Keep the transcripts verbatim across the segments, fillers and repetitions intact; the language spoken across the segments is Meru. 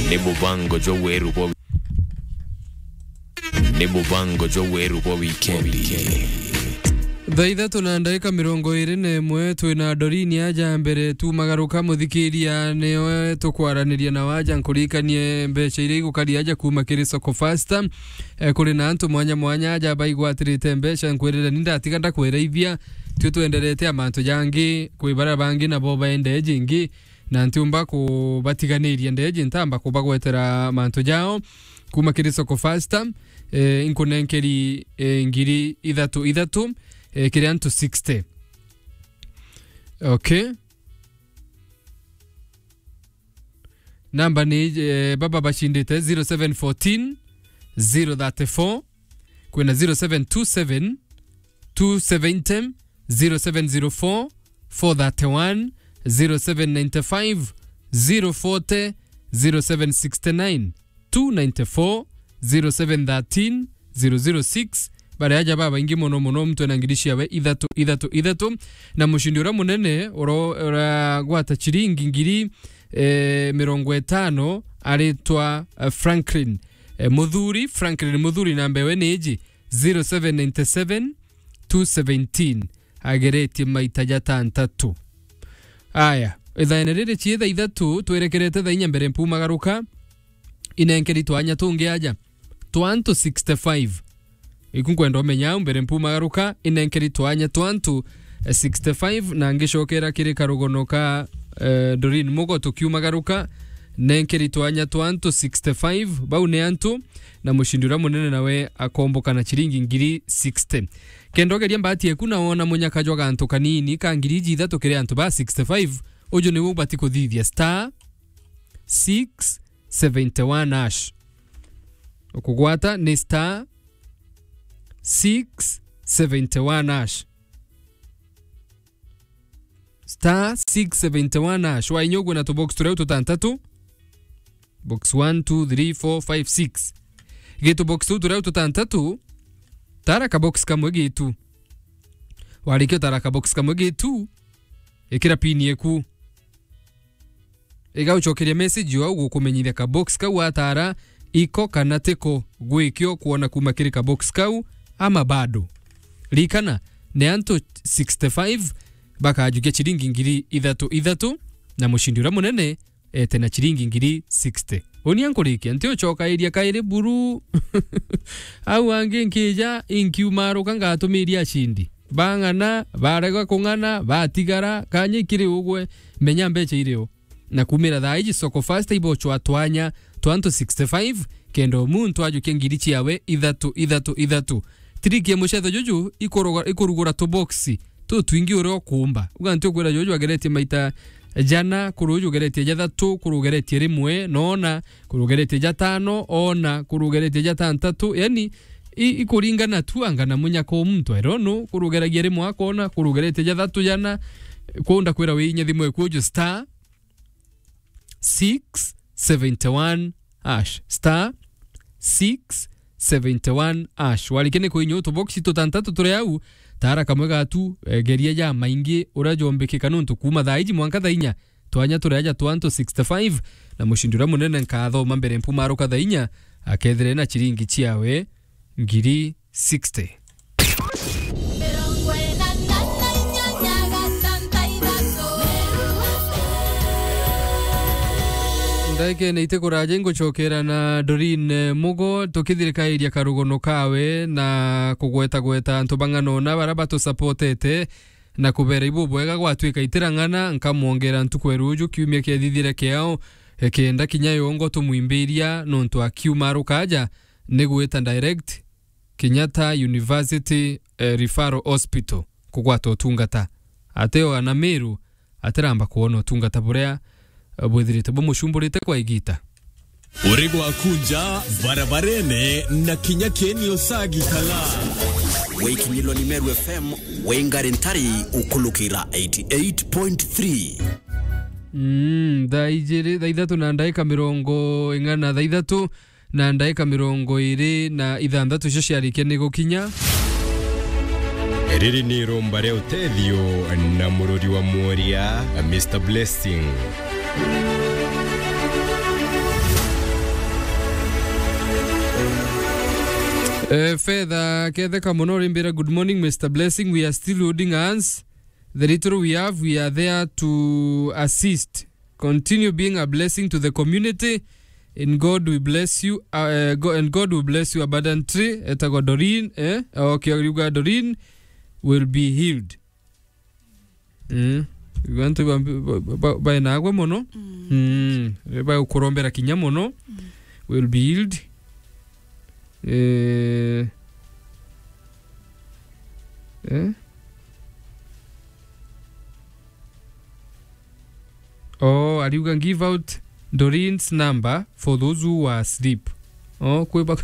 Ni mubango jwa weru bwa wi-, ni mubango jwa weru bwa wikendi. Thaa ithatu na ndagika mirongo iri na imwe, twina Doreen aja mbere tumagaruka. Muthikiria, nio tukwaraniria na waja, nkurikanie mbeca iria igukari aja kuma kiri Soko Fasta. Eh, kuri na antu mwanya mwanya aja baigwatirite mbeca, nkwirire ni ndatiga ndakwiraithia, tio twenderete a mantu jangi, kwi baria bangi nabo baende jingi, na ntiumba kubatiganiria ndeji, ntamba kubagwetera mantu jao. Kuma kiri Soko Fasta, eh, inkunenkeri, eh, ngiri ithatu ithatu, eh, kiri antu sixty. Okay. Namba ni, eh, baba bacindite zero seven fourteen, zero thirty-four, kwina zero seven two seven, two seventy, zero seven zero four, four thirty-one, zero seven nine five, zero forty, zero seven sixty-nine, two ninety-four, zero seven thirteen, zero zero six. Baria aja babaingi mono mono, muntu ena ngiri ciawe ithatu, ithatu, ithatu. Na mucindi uria munene uro-, uragwata ciringi ngiri, eh, mirongo itano aritwa, eh, Franklin. Eh, Muthuri, Franklin Muthuri, namba ewe ni iji, zero seven nine seven, two seventeen, ageretie maita jatantatu. Aya, ithaene riri cie thaa ithatu, twerekerete thaa inya mbere mpumagaruka, inenkeri twanya tungi aja twa antu sixty-five. Iku nkwenda umenya au mbere mpumagaruka, inenkeri twanya twa antu, eh, sixty-five, na ngicokera kiri karugono ka, eh, Doreen Mugo tukiumagaruka, nenkeri twanya twa antu sixty-five, bau ni antu, na mucindi uria munene nawe akomboka na ciringi ngiri sixty. Kenda ugeria mbati eku na wona munyaka jwa gantu kanini ka ngiri iji ithatu kiri antu ba sixty-five, uju niwe ubati kuthithia star six seventy-one hash. Ukugwata ni star six seventy-one hash. Star six seventy-one hash. Wainya ugwe na tubox turia tutantatu. Box one, two, three, four, five, six. Gitu box tu turia tutantatu, tara ka box kamwe gitu. Warikia utara ka box kamwe gitu, ikira pin yeku. Igaucokeria message yo au gukumenyithia ka box kau atara iko kana tiko gwikio kwona kuma kiri ka box kau ama bado. Rikana, ni antu sixty-five bakajukia ciringi ngiri ithatu ithatu, na mucindi uria munene ete na ciringi ngiri sixty. Unia nkurikia, nti ucokairia kairi buru. Au angi nkija, inkiumaruka ngatumiria acindi. Bang'ana, barega kung'ana, batigara, kanya ikiri ugwe, menya mbeca iri o. Na kumira thaa iji Soko Fasta ibochwa twanya twa antu sixty-five, kenda o muntu ajukia ngiri ciawe ithatu, ithatu, ithatu. Trick ya mucetho juju ikuruga-, ikurugura tuboksi tutwingi uria ukumba. Uga nti ukwira juju ageretie maita jana, kuru uju ugeretie jathatu, kuru ugeretie rimwe, nona, kuru ugeretie jatano, ona, kuru ugeretie jatantatu. Yani, i-, ikuringana tu anga na munyaka o muntu, I don't know, kuru ugeragia rimwe akona, kuru ugeretie jathatu jana, kunda kwira wiinya thimu eku uju star six seventy-one hash, star six seventy-one hash. Warikia ni kuinyua tuboksi tutantatu turi au, tara kamwe gatu, eh, geria ja maingi uria jombikika nontu kuma thaa iji mwanka thaa inya, twanya turi aja twa antu sixty-five, na mucindi uria munene nkathoma mbere mpumaruka thaa inya, akethire na ciringi ciawe ngiri sixty. Ndagikene iti kuraja ingucokera na Doreen, eh, Mugo, tukithirikairia karugono kawe na kugwetagweta antu bang'ana ona baria batusapotete na kubera ibubwega gwatwika itirang'ana, nkamwongera ntuku ya ruju kiumia kiethithire kiao, eh, kenda kinya yongo tumwimbiria nontu akiuma arukaja ni gwita direct Kenyatta University, eh, Referral Hospital kugwata utungata. Ateo ana Meru atiramba kwona utungata buria, eh, bwithirite bumucumburite kwa igita. Uri gwakunja barabarene na kinya keni usagitala. Wikinyilwa ni Meru F M, wingari ntari ukulukira eighty-eight point three. Mm, thaa ijiri, thaa ithatu na ndaika mirongo ing'ana, thaa ithatu na ndaika mirongo iri na ithanthatu cio ciarikia ni gukinya. Riri ni irumba ria utethio na mururi wa mworia, Mister Blessing. Eh, Fedha Ketheka mono rimbira, "Good morning, Mister Blessing. We are still holding hands. The little we have, we are there to assist. Continue being a blessing to the community. In God we bless you, uh, eh, Go-, and God will bless you abundantly." Etagwa Doreen, eh? Okay, ariuga Doreen will be healed. Mm. Antu ba, ba, ba, baenagwe mono. Mm. Mm. Bagukurombera kinya mono. Mm. Will be healed. Eh. Eh? Oh, ariuga, "Give out Doreen's number for those who are asleep." Oh, kwiba,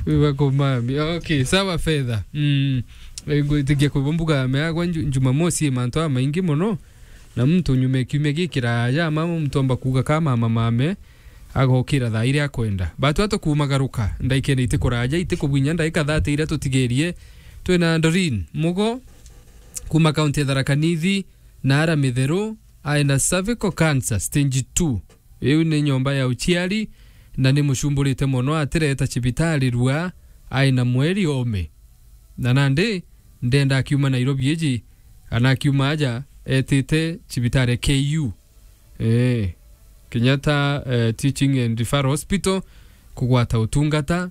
kwiba kumami. Okay, sawa, Fedha. Mm. Eh, ngwitikia kwiba mbuga ya meagwa Nju-, Jumamosi, mantu a maingi mono. Na muntu nyuma ya kiumia gikiraya, mama muntu omba kuuga ka mama mame, agokira thaa iria akwenda. Batu atukumagaruka, ndaikene itikuraja, itikubwinya ndaika thirty iria tutigerie. Twina Doreen Mugo, kuma kaunti ya Tharaka Nithi, na ara mitheru, aina cervical cancer stage two. Iu ni nyomba ya uciari, na ni mucumburite mono, atireta cibitari rua, aina mweri ome. Na nandi, ndenda akiuma Nairobi iji, kana akiuma aja, etite cibitari ya K U. Eh, Kenyatta, eh, Teaching and Referral Hospital, kugwata utungata.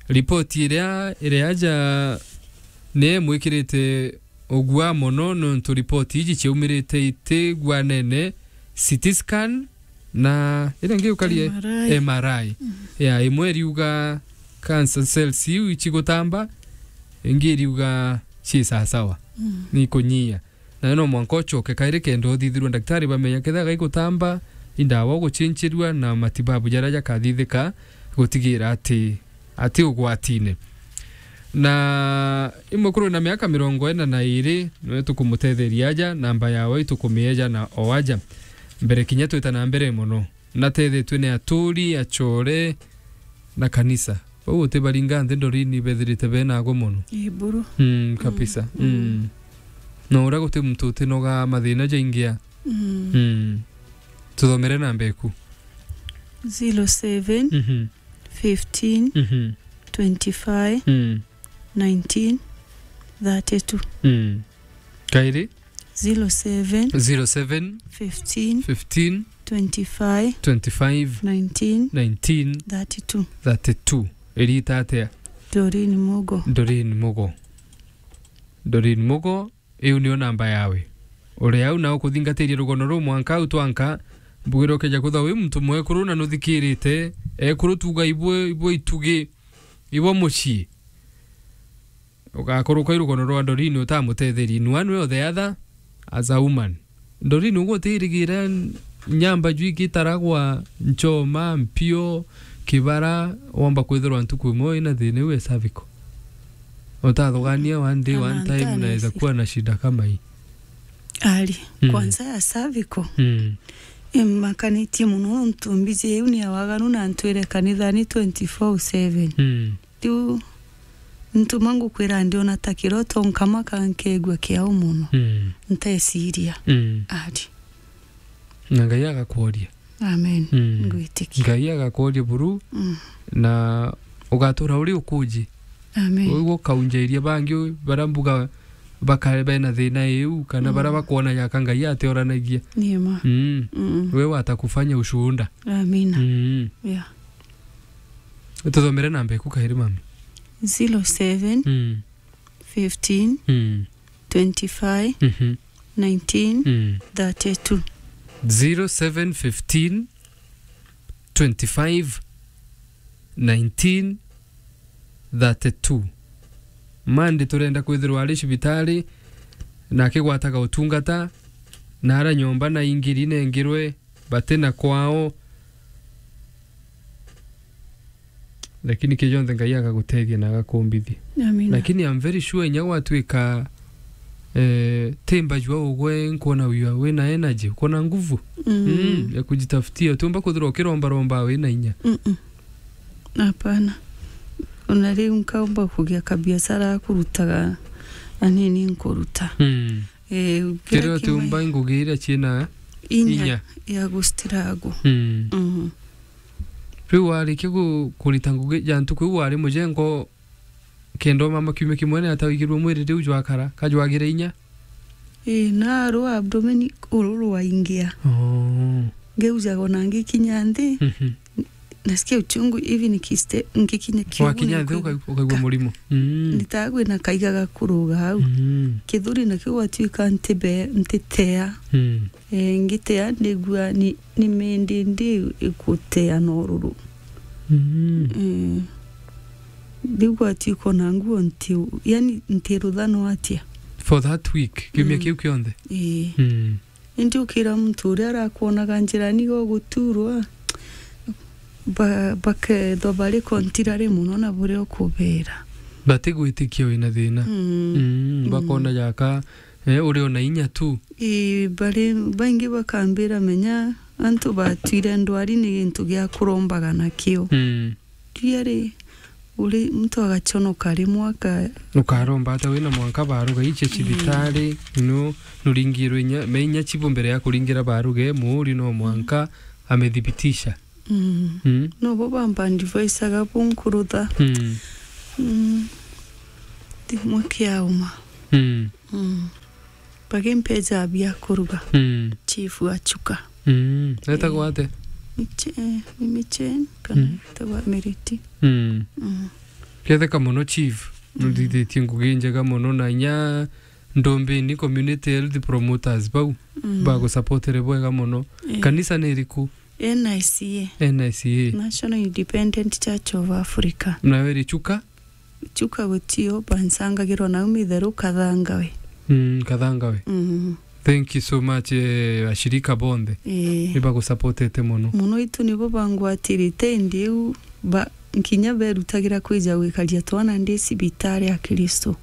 Ripoti iria iri aja ni imwikirite ugua mono, nontu ripoti iji ciaumirite itigwanene, C T scan na iria ingi ukarie M R I. M R I. Mm. Ya, imwe iriuga cancer cells iu icigutamba, ingi iriuga ci sasawa. Mm. Ni kunyia. Na no mwanka ucoke kairi kenda uthithirwe ndagitari bamenya kethira gaigutamba, indawa ugucinchirua na matibabu jaria jakathithika gutigira ati, ati ugwatine. Na imwe kuru na miaka mirongo ina na iri, niwe tukumutetheria aja, namba yawe itukumieja na o aja. Mbere kinya twita na mbere mono. Natethetwe ni aturi, acore, na kanisa. Bau utibaringa nthi Doreen bethirite benagwe mono. Ii, buru. Mm, kabisa. Mm. Mm. Na uria guti muntu utinoga mathina jaingi a. Mm. Mm. Tuthomere namba eku. Zero seven, mhm, fifteen, mhm, twenty-five, mm, nineteen, thirty-two. Mm. Kairi? Zero seven, zero seven, fifteen, fifteen, twenty-five, twenty-five, nineteen, nineteen, thirty-two. Thirty-two. Irita atia? Doreen Mugo. Doreen Mugo. Doreen Mugo, iu nio namba yawe. Uri au na ukuthingatiria rugono ruu mwanka au twanka, mbugire ukeja kwithwa wi muntu mwekuru na nuthikirite, ekuru tuga ibwe, ibwe itugi, ibwe mucii. Ugakuruka irugono rwa Doreen utamutetheria in one way or the other as a woman. Doreen, ugutirigira nyamba jwiki itaragwa nchoma, mpio, kibara, womba kwithirwa ntuku imwe ina thina iu ya cervical. Utathugania one day, one time, naweza kuwa na shida kama hii. Ari, mm, kwanza ya cervical. Mm. Imakanitie mono nontu mbiji iu ni ya waganu na ntwire kanithani twenty-four seven. Mm. Riu ntuma ngukwira ndiona ta kiroto, nkamaka, nkeegua kiao mono. Mm. Ntesiria. Mm. Ari. Na Ngai agakworia. Amen. Mm. Ngwitikia. Ngai agakworia buru, mm, na ugatura uri ukuji. Amen. Uguo ukaunjairia bangi u-, baria mbuga bakare bena thina iu, kana baria, mm, bakwona yaka Ngai atioranagia. Ni ma. Mm. Mm. We watakufanya ushuhuda. Amina. Mm. Yeah. Tuthomere namba eku kairi, mami. Zero seven, mm, fifteen, mm, twenty-five, mhm, nineteen, mm, thirty-two. Zero seven fifteen, twenty-five, nineteen, thirty-two. Mandi turenda kwithirwa ari cibitari na akigwataga utungata, na ara nyomba na ingiri nengirwe bati na kwao. Lakini kii jonthe Ngai agaguteethia na agakumbithia. Amina. Lakini I'm very sure inya gwatuika, eh, ti mbajua ugwe, nkwona wiwa wina energy, ukwona nguvu. Mm. Mm, ya kujitafutia. Utiumba kwithirwa ukirombaromba wina inya. Mm-mm. Hapana. Ona riu nkaumba kugia kabiacara ga kurutaga anini nkuruta. Mm. Eh, kiria utiumba ngugi iria ciina inya, inya ya gustruggle. Mm. Mm. Riu warikia ku-, kurita ngugi ja ntuku iu wari mujengo Kenda mama kiumia kimwe ni ata wigirwe mwiri riu jwakara, ka jwagire inya? Ii, narwa abdomen uru rwaingia. Oh. Ngeujaga ona ngikinya nthi, Mhm. nasikia uchungu hivi nikiste-, ngikinya kiugu. Wakinya nthi niku-, uka-, ukaigua ka-, murimo. Mm. Nitaga kwina kaiga gakuruga au. Mm. Kithuri nakio gwatuika ntibe-, ntitea. Mm. Eh, ngitea ndigua ni, ni mindi ndi ikutea na ururu. Mm. Eh, riu gwatuika ona nguo nti-, yani ntiruthano atia. For that week, kiumia Mm. kiu kionthe? Ii. Mm. Indi ukira muntu uria arakwonaga njirani goguturwa, ba-, bakethwa bari contrary mono na buria ukubera. Batigwitikia wina thina. Mm. Mm, Mm. bakona jaka, eh, uri ona inya tu. Ii, bari baingi bakambira, menya antu batwire ndwari ni gintu gia kurombaga nakio. Mm. Riari, uri muntu agachonoka rimwe aka- Ukaromba ata wina mwanka baruga iche Mm. cibitari, no, nuringirwe inya, me inya chibu mbere ya kuringira baruge, muuri no mwanka amethibitisha. Mm. Mm. No bo bamba advice aga bunkurutha. Mm. Mm. Timwe kiauma. Mm. Mm. Bagimpeja bia kuruga. Mm. Chief wa Chuka. Mm. Etagwa Eh. ate? Miche-, eh, ni Miche, kana Mm. etagwa Meriti. Mm. Mm. Ketheka mono chief. Mm. Nuthithitie ngugi njega mono na inya Ndombeni Community Health Promoters bau. Mm. Bagusapotere bwega mono. Eh. Kanisa ni iriku? N I C A. N I C A. National Independent Church of Africa. Nawe iri Chuka? Chuka gutio, bansangagirwa nau mitheru Kathangawe. Mm, Kathangawe. Mm. Thank you so much, eh, ashirika bonthe. Eh. Ni bagusapotete mono. Mono itu nibo bangwatirite indi iu ba-, nkinya berutagira kwija gwikaria twana ndi cibitari ya Kristo.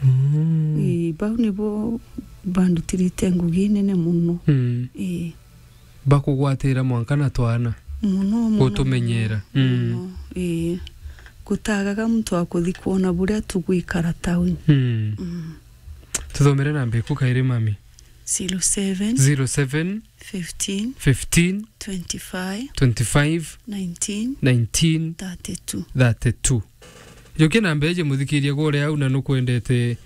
Mm. Eh, bau nibo bandutirite ngugi nene mono. Mm. Eh. Bakugwatira mwanka na twana. Mono, mono, gutumenyera. Mono, Mm. mono, ii. Gutagaga muntu wa kuthi kwona buria tugwikara tauni. Mm. Mm. Tuthomere namba iku kairi, mami. Zero seven. Zero seven. Fifteen. Fifteen. Twenty-five. Twenty-five. Nineteen. Nineteen. Thirty-two. Thirty-two. Jukia namba iji, muthikiria, gwa uria au na nukwendete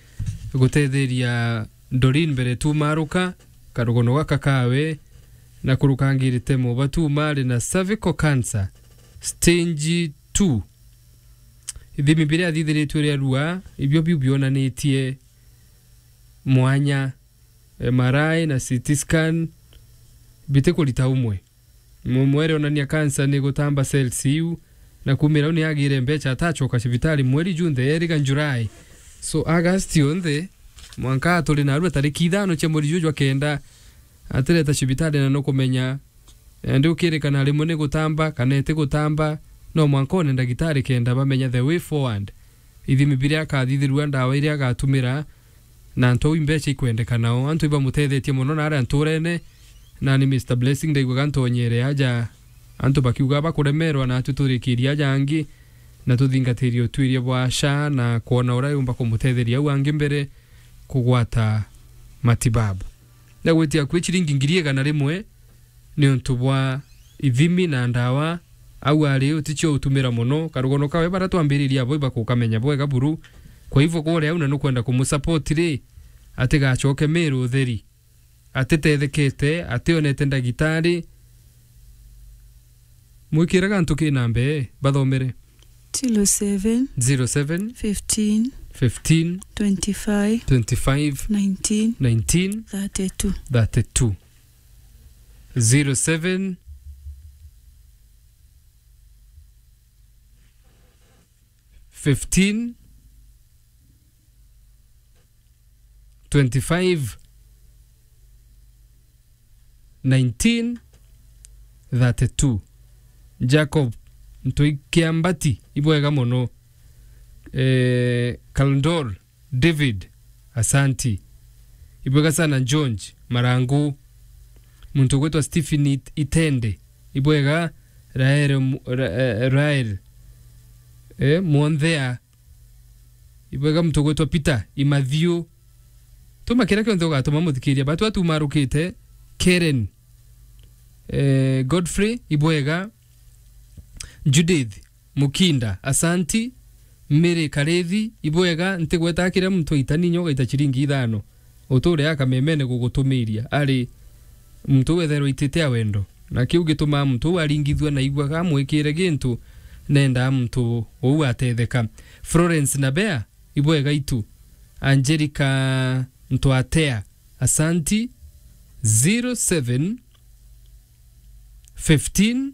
gutetheria Doreen mbere tumaruka, karugono gaka kawe, na kurukangirite mubatu mari na cervical cancer, stage two. Ithimi biria athithiritue ria rua, ibio biu bionanitie mwanya, M R I na C T scan, bitikurita umwe. Mu-, mwere onania kansa ni gutamba cells iu, na kumira u ni agire mbecha atachoka cibitari mweri junthe, eriga July. So, August yonthe, mwanka turi narua tariki ithano cia mweri juju jwa kenda, atireta cibitari na nukumenya, eh, ndi ukirikana rimwe ni gutamba kana iti gutamba, no mwanka one ndagitari kenda bamenya the way forward. Ithimi biria akathithirua, ndawa iria agatumira, na antu au imbecha ikwendekana o. Antu ibamutethetie mono naria nturene, na ni Mister Blessing ndaiguaga ntonyere aja, antu bakiuga bakuremerwa, na atwi turikirie aja angi, na tuthingatirie utuiria bwa SHA na kwona uria yumba kumutetheria au angi mbere kugwata matibabu. Na gwitia kwi ciringi ngiri igana rimwe, niuntu bwa ithimi na ndawa, au ari uticio utumira mono. Karugono kawe bara twambiririe abo ibakukamenya bwega buru. Kwa hivyo, kore au na nukwenda kumusupport ri, atigacoke Meru utheri, atitethekete, ationete ndagitari, mwikire gantu ki namba ii, bathomere. Zero seven. Zero seven. Fifteen. Fifteen. Twenty-five. Twenty-five. Nineteen. Nineteen. Thirty-two. Thirty-two. Zero seven, fifteen, twenty-five, nineteen, thirty-two. Jacob Ntui Kiambati, ibwega mono. Eh, Kaldor David, asanti. Ibwega sana George Marangu. Muntu ugwitwa Stephen It-, Itende. Ibwega Rael Mu-, Ra-, eh, Rael. Eh, Mwanthea. Ibwega muntu ugwitwa Peter Imathiu. Tuma kiria kionthe ugatuma muthikiria. Batu atumarukite. Karen. Eh, Godfrey, ibwega. Judith Mukinda, asanti. Mary Karithi, ibwega, ntigweta kiria muntu aita ninya ugaita ciringi ithano. Uture akamemene gugutumiria, ari muntu wetherwa itite a wendo. Na kiu gitumaa muntu uu aringithua na igua amwikire gintu, nendaa muntu uu atetheka. Florence Nabea, ibwega itu. Angelica Ntwatea, asanti. Zero seven fifteen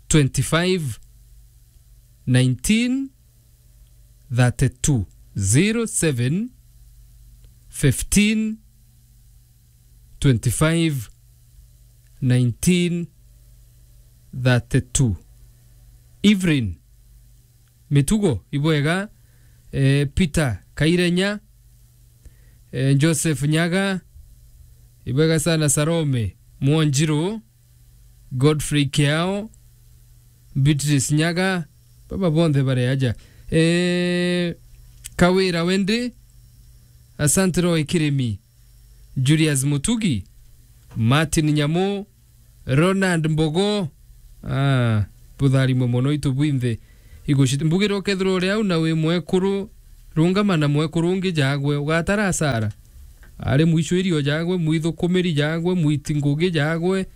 twenty-five nineteen thirty-two. Zero seven fifteen twenty-five nineteen thirty-two. Evelyn Mitugo, ibwega, eh, Peter Kairenya, eh, Joseph Nyaga, ibwega sana Salome Mwonjiru, Godfrey Kiao, Beatrice Nyaga, baba bonthe bari aja. Eh, Kawira Wendi, asante Roy Kirimi, Julius Mutugi, Martin Nyamu, Ronald Mbogo. Ah, butharimwe mono itu bwinthe. Igucit-, mbugire ukethirwa uri au na wi mwekuru, rungama na mwekuru ungi jagwe, ugatara asara. Ari mwicwirio jagwe, mwithukumiri jagwe, mwiti ngugi jagwe,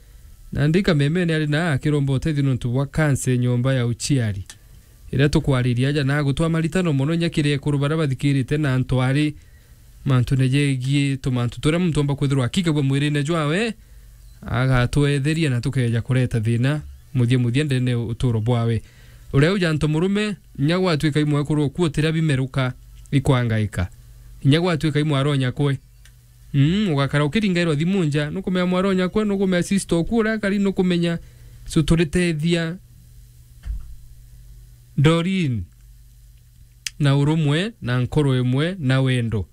na ndika memene ari na akiromba utethio nontu bwa kansa nyomba ya uciari. Iria tukwariria aja na gutwa maritano mono inya kiri ekuru baria bathikirite na antu ari mantu ne jegie tumantu turia muntu omba kwithirwa akikagua mwirine jwawe, agatwetheria na tukeja kureta thina muthia muthia ndene uturo bwawe. Uria uja antu murume, inya gwatuika imwe kuru kuotira bimeruka ikwangaika. Inya gwatuika imwe aronya kwe. Mm, ugakara ukiringairwa thimu nja, nukumenya mwaronya kwe, nukumenya sister oku uria akari, nukumenya. So turitethia Doreen na urumwe na nkoro imwe na wendo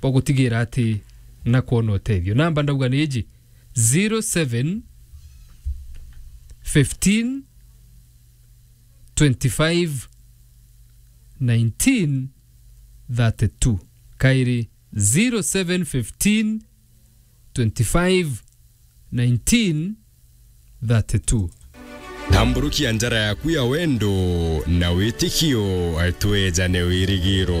bwa gutigira ati na kwona utethio. Namba ndauga ni iji, zero seven fifteen twenty-five nineteen thirty-two. Kairi, zero seven fifteen twenty-five nineteen thirty-two. Tamburukia njara yaku ya wendo na witikio, twejane wirigiro.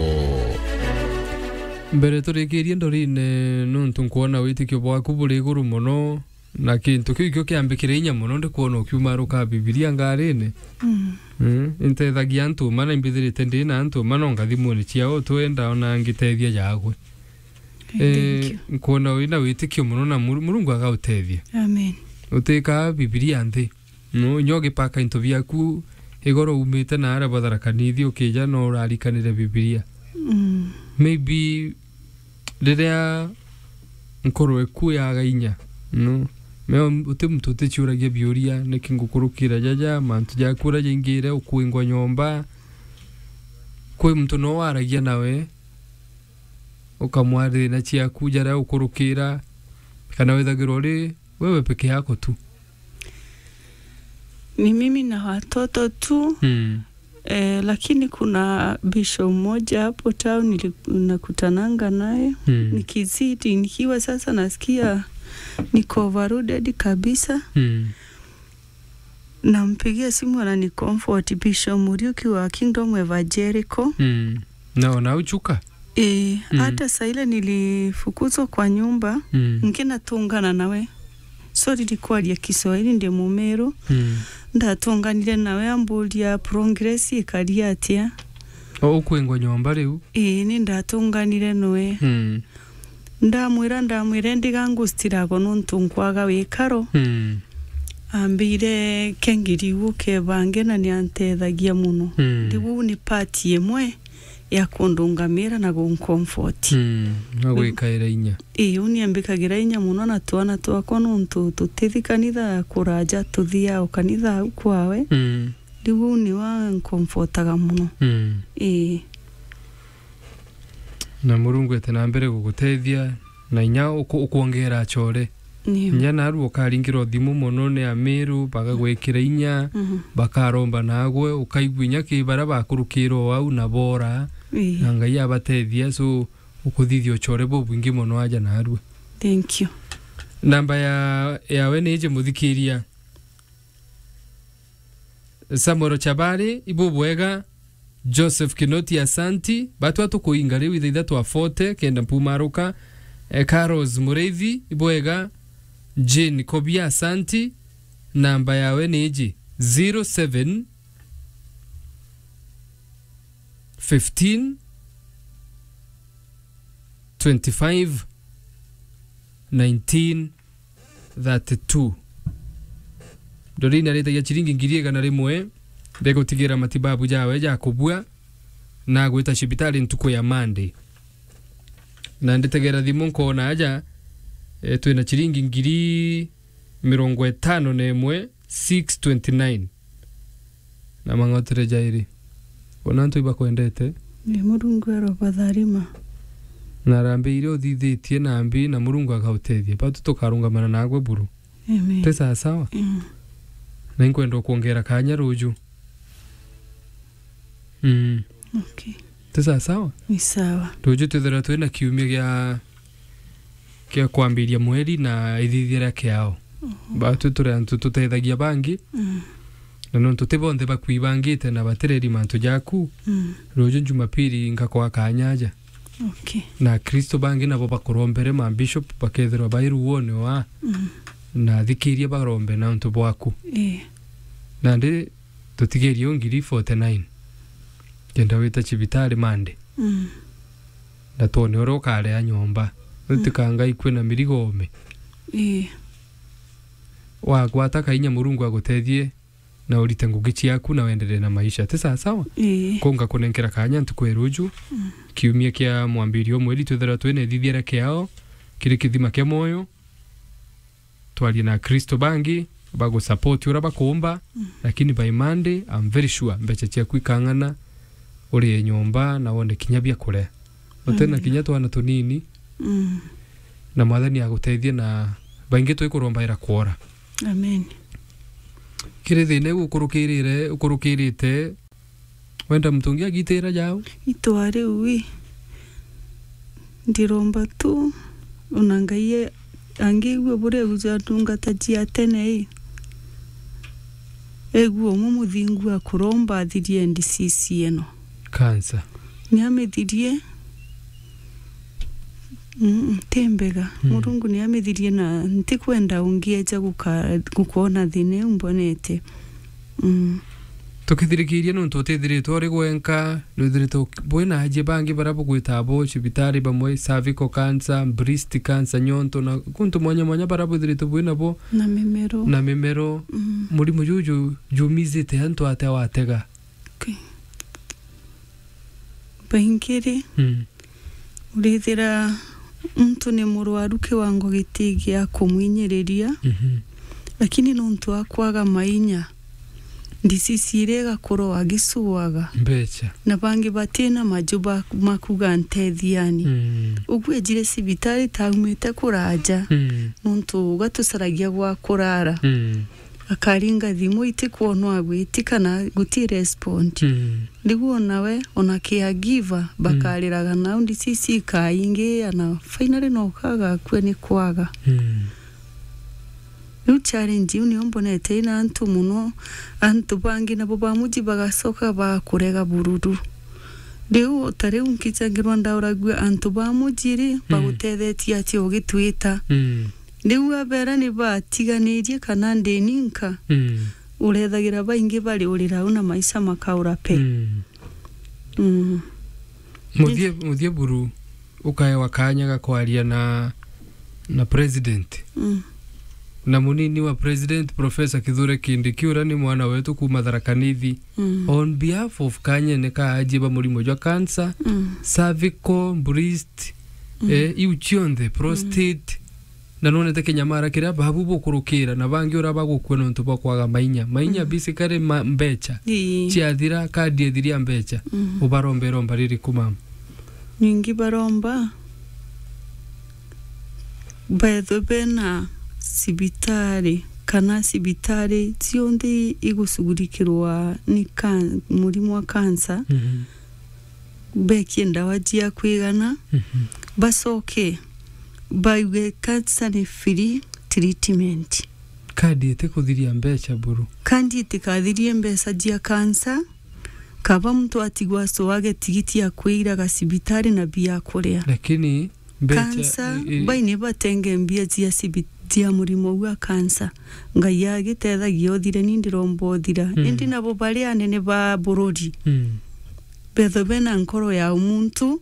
Mbere turikirie ndorine, nontu nkwona witikio bwaku buri iguru mono, na kintu kiu ikio kiambikire inya mono, ndikwona ukiumaruka Bibilia ngarine. Mm. Mm, intethagia antu mana imbithirite ndi na antu mana ngathimune ciao twenda ona ngitethia jagwe. Eh, thank you. Nkwona wina witikio mono na Muru-, Murungu agautethia. Amen. Utikaa Bibilia nthi. No, inya ugipaka into biaku igoro umite na aria batharakanithi ukija no urarikanire Bibilia. Mm. Maybe riria nkoro eku yaga inya, no? Me uti muntu uticiuragia biuria, niki ngukurukira jaja, mantu jaku uria jaingire, ukwingwa nyomba. Kwi muntu no waragia nawe, ukamwarira thina ciaku jaria ukurukira, kana withagirwa uri wewe peke yako tu? Ni mimi na watoto tu. Mm. Eh, lakini kuna bishop mmoja hapo town nili-, nakutananga naye. Mm. Nikizidi, nikiwa sasa nasikia niko overloaded kabisa. Mm. Nampigia simu anani comfort, Bishop Muriuki wa Kingdom Evangelical. Mm. Na ona uchuka? Eh, mm, hata saa ile nilifukuzwa kwa nyumba, mm, nkinatungana nawe. Sorry, ndikwaria Kiswahili, ndi Mumeru. Mm. Ndatunganire nawe amburia progress ikari atia. O, ukwingwa nyomba riu? Ii, ni ndatunganire noe. Mm. Ndamwira, ndamwira, ndiga ngustirago nontu nkwaga wikaro. Mm. Ambire kengiri ukebange na ni antethagia mono. Mm. Riu ni part imwe ya kundungamira na guncomfort. Mm. Na gwikaira inya. Ii, uni ambikagira inya mono na twana twakwa nontu tuti kanitha kuraja, tuthiaga o kanitha au kwawe. Mm. Riu uu ni wancomfortaga mono. Mm. Ii. Na Murungu ete na mbere gugutethia, na inya uku-, ukwongera achore. Nio. Inya naru ukaringirwa thimu mono ni Amiru, bagagwikira inya, mhm, bakaromba nagwe, ukaigua inya ki baria bakurukirwo au na bora, ii, na Ngai abatethia, so ukuthithia uchore bubwingi mono aja narua. Thank you. Namba ya, yawe ni iji muthikiria. Samuel Chabari, ibubwega. Joseph Kinoti, asanti. Batwa tukuinga riu ithaitha twa forty, kenda mpumaruka. Eh, Carlos Mureithi, ibwega. Jane Kobia, asanti. Namba yawe ni iji, zero seven fifteen twenty-five nineteen thirty-two. Doreen aritagia ciringi ngiri igana rimwe, ndegutigira matibabu jawe ja kubua, na agwita cibitari ntuku ya Monday. Na nditegera thimu nkoona aja, eh, twina ciringi ngiri mirongo itano na imwe, six twenty-nine. Na mang'otire jairi. Bona antu ibakwendete. Ni Murungu arobatharima. Na harambee iria uthithitie na mbi na Murungu agautethia. Batu tukarungamana nagwe buru. Amen. Ti sawa sawa? Mm. Na inkwenda ukwongera kanya ruju. Mm. Okay. Ti sawa sawa? Ni sawa. Ruju twithirwa twina kiumia gia, gia kwambiria mweri na ithithia ria kiao. Mhm. Batu turi antu tutethagia bangi. Mm. Na nontu ti bonthe bakwibangite na batireri mantu jaku. Mm. Ruju Jumapili ngakwa kanya aja. Okay. Na Akristo bangi nabo bakurombere ma bishop bakethirwa bai ruone wa. Mm. Na thikiria barombe na untu bwaku. Eh. Nandi tutigerie o ngiri forty-nine. Kenda wita cibitari Monday. Mm. Na twone uria ukaria nyomba. Mm. Utikanga ikue na mirigo ome. Ii. Wagwata kainya Murungu agutethie na urite ngugi ciaku na wenderee na maisha. Ti sawa sawa? Ii. Ko ngakunenkera kanya ntuku ya ruju. Mm. Kiumia kia mwambirio mweri twithirwa twina ithithia ria kiao kiri kithima kia mwoyo. Twarie na Akristo bangi bagusupport uria bakuumba, mm, lakini by Monday, I'm very sure mbeca ciaku ikang'ana urie nyomba na wone kinya bia kuria. Utena, amen, kinya twana tunini. Mm. Na Mwathani agutethie na baingi twikurombaira kwora. Amen. Kiri thina iu ukurukirire, ukurukirite, wenda muntu ungi agitira jau? Itwa riu wi, ndiromba tu, ona Ngai e-, angiigua buria auja ndungata cia tene i. Egua umwe muthingu akuromba athirie N D C C ino. Cancer. Ni amithirie, mm, ti mbega. Mm. Murungu ni amithirie na ntikwenda ungi eja guka-, gukwona thina iu mbonete. Mm. Tukithirikiria nontu utithiritwe uri gwenka, nwithiritwe bwina aji bangi baria bugwita abo cibitari, bamwe cervical cancer, breast cancer, nyonto na kuntu mwanya mwanya baria bwithiritwe bwina bo. Na mimero. Na mimero. Mm. Murimo juju jumizite antu atia watega? Okay. Baingi ri, mm, urithira muntu ni murwaru kiwango giti gia kumwinyiriria, mhm, lakini nontu wa kwaga mainya, ndisisi iria igakura agicuaga. Mbeca. Na bangi batina maju ba, ma kuga ntethiani. Mm. Uguo ejire cibitari taumite kuraja, mm, nontu gatucaragia gwa kurara. Mm. Akaringa thimu itikwonwa agwiti kana guti respond. Mm. Riu ona we, ona caregiver, mm, bakariraga nau, ndisisi ikaingia na finally no kaga akue ni kwaga. Mm. Riu challenge iu nio mbonete ina antu mono, antu bangi nabo ba muji bagacoka bakurega bururu. Riu ta riu nkijangirwa ndauragua antu ba muji ri, mm, bagutethetie atia ugitwita? Mm. Riu abera ni batiganirie kana ndi ninka, mm, urethagira baingi bari urira au na maisha makaura pe. Mm. Mm. Muthie, muthie buru ukaewa kanya ga kwaria na, na president. Mm. Na munini wa president, Professor Kithure Kindiki, uria ni mwana wetu kuma Tharaka Nithi. Mm. On behalf of kanyene ka aji ba murimo jwa cancer, mm, cervical, breast, mm, eh, iu cionthe, prostate, mm, na nonete kinyamara kiria babu bukurukira na bangi uria bagukua nontu bwa kwaga mainya. Mainya, mm, basically ma-, mbecha. Ii. Ciathira, kadi ethiria mbecha. Mm. Ubarombera omba ririku mama? Ningi baromba bethwe bena cibitari, kana cibitari cionthe igucugurikirwa ni kan-, murimo wa cancer, mhm, bekie ndawa cia kwigana, mhm, bacoke baigue cancer ni free treatment. Kandi itikuthiria mbeca buru. Kandi itikathirie mbeca cia cancer, Kaba muntu atigwa so age tigiti ya kwira ga cibitari na bia kuria. Lakini mbecha, kansa, i-, i-, bai ni batenge mbia cia cibi-, cia murimo wa kansa. Ngai agitethagia uthire, ni ndiromba uthira. Mm. Indi nabo bari anene ba bururi. Mm. Betho bena nkoro ya umuntu,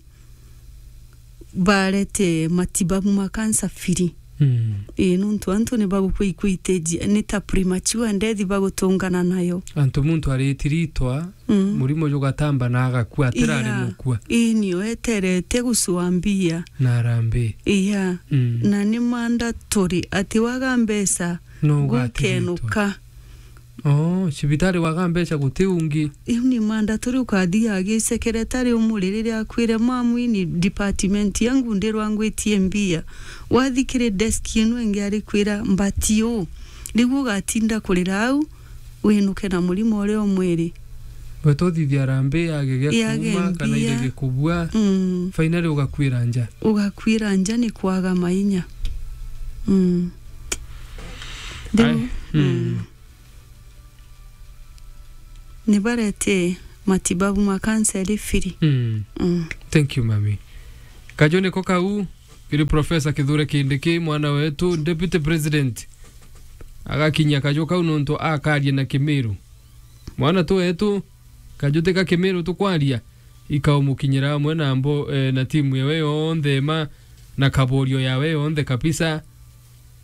barete matibabu ma kansa free. Mm. Ii, nontu antu ni bagukua ikwiteji, ni ta premature death bagutungana nayo. Antu muntu aritiritwa, mm, murimo jugatamba na agakua, atirari, yeah, mukua. Ii, nio eterete gucua mbia. Na arambi. Iya. Mm. Na ni mandatory ati waga mbeca, no ugatiritwa. Gukenuka. Oh, cibitari waga mbeca guti ungi. Iu ni mandatory ukathi agi secretary umuri riria akwire, "Mamu, ini department yangu ndirwa ngwitie mbia." Wathi kiri desk inu ingi arikwira, "Mbati uu." Riu ugatinda kurira au, winuke na murimo uria umwiri. Weta uthithia arambi yage gia kuuma kana mbia, irege kubua. Mm. Finally ugakwira nja. Ugakwira nja ni kwaga mainya. Mm. Riu, ai, mm. Mm. Ni barete matibabu ma kanseri free. Mm. Mm. Thank you, mami. Kaju niko kau, kiri Professor Kithure Kindiki, mwana wetu, Deputy President. Agakinyia kaju kau nontu akaria na Kimiru. Mwana tu wetu, kaju ti ka Kimiru tukwaria, ikaumukinyira amwe na mbo, eh, na timu yawe yonthe ima, na kaborio yawe yonthe kabisa.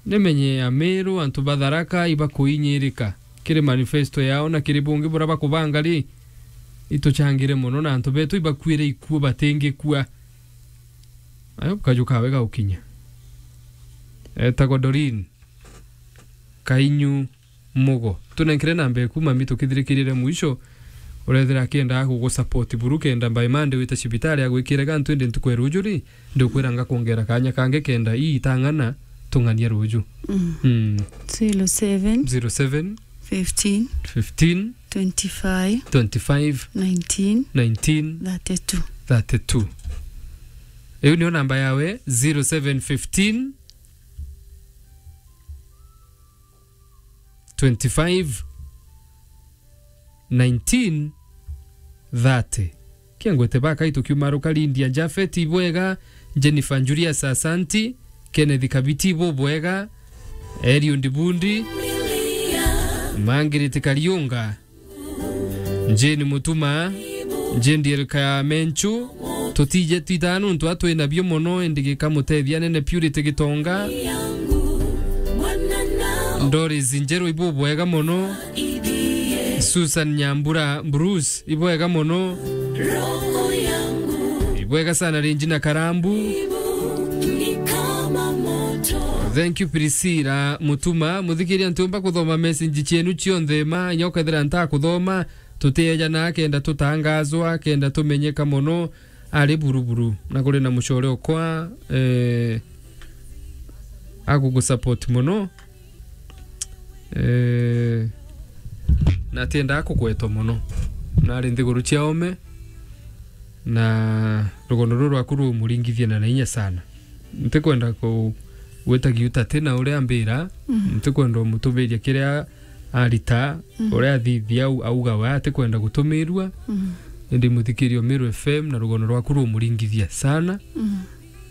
Nimenye Amiru, antu ba Tharaka ibakuinyirika kiri manifesto yao na kiri bungi buria bakubanga ri, ituchangire mono na antu betu ibakuire ikuo batingikua. Ayo kaju kawe gaukinya. Etagwa Doreen Kainyu Mugo. Tunenkere namba eku, mami, tukithirikirire mwisho. Urethira akiendaga kugusupport buru kenda by Monday wite cibitari agwikire gantu, indi ntuku ya ruju ri, ndiukwira ngakwongera kanya kangi kenda ii itang'ana tung'ania ruju. Mm. Mm. Zero seven, zero seven, fifteen, fifteen, twenty-five, twenty-five, nineteen, nineteen, thirty-two. Thirty-two. Iu niyo namba yawe, zero seven fifteen, twenty-five, nineteen, thirty. Kiangwete baka itukiumaruka, Lydia Japhet, ibwega, Jennifer Julius, asanti, Kenneth Kabiti, ibubwega, Eliud Bundi, Margaret Kariunga, Jane Mutuma, Jane Diel Kamenchu, tutije twithaa nontu atwi nabio mono, indi gikamutethia nene Purity Gitonga, Doris Njeru, ibubwega mono, Susan Nyambura Bruce, ibwega mono, ibwega sana Regina Karambu. Thank you, Priscilla Mutuma. Muthikiria, ntiumba kuthoma message cienu cionthe ma, inya ukethira ntakuthoma, tutiejanaa kenda tutangazwa, kenda tumenyeka mono ari buruburu. Na kuri na mucore okwa, eh, agugusupport mono. Eh, na atiendaa kugwetwa mono. Nari nthiguru cia ome, na rugono ruru rwaku rumuringithie na na inya sana. Ntikwenda ku-, gwita giuta ti na uria ambira, mm, ntikwenda umutumiria kiria arita, mm, uria athithia au-, auga we atikwenda gutumirua. Mm. Indi muthikiria Meru F M na rugono rwaku rumuringithia sana. Mm.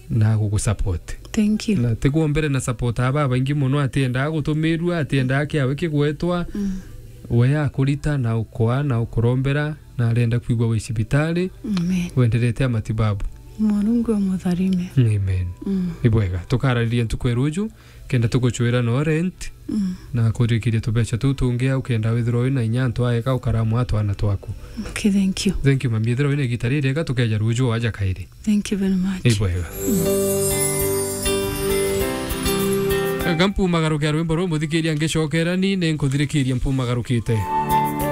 Na gugusupport. Thank you. Na tigwo mbere na support aba baingi mono, atiendaa gutumirua, atiendaa kiawe kigwetwa. Mm. We akurita na ukoa na ukurombera, na arenda kwigua wi cibitari. Amen. Wenderete a matibabu. Murungu amutharime. Amen. Mm. Ni bwega. Tukarariria ntuku ya ruju, kenda tuguchwira no rent, mm, na kurikiria tubecha tuu tungi au, kenda withirwa wina inya antu aega ukaramwa twana twaku. Okay, thank you. Thank you, mami. Ethirwa wina igita ririega, tukeja ruju aja kairi. Thank you very much. Ni bwega. Eka mpumagaruke rwimbo ruu, muthikiria, ngicokera ni, ni nkuthirikiria mpumagarukite.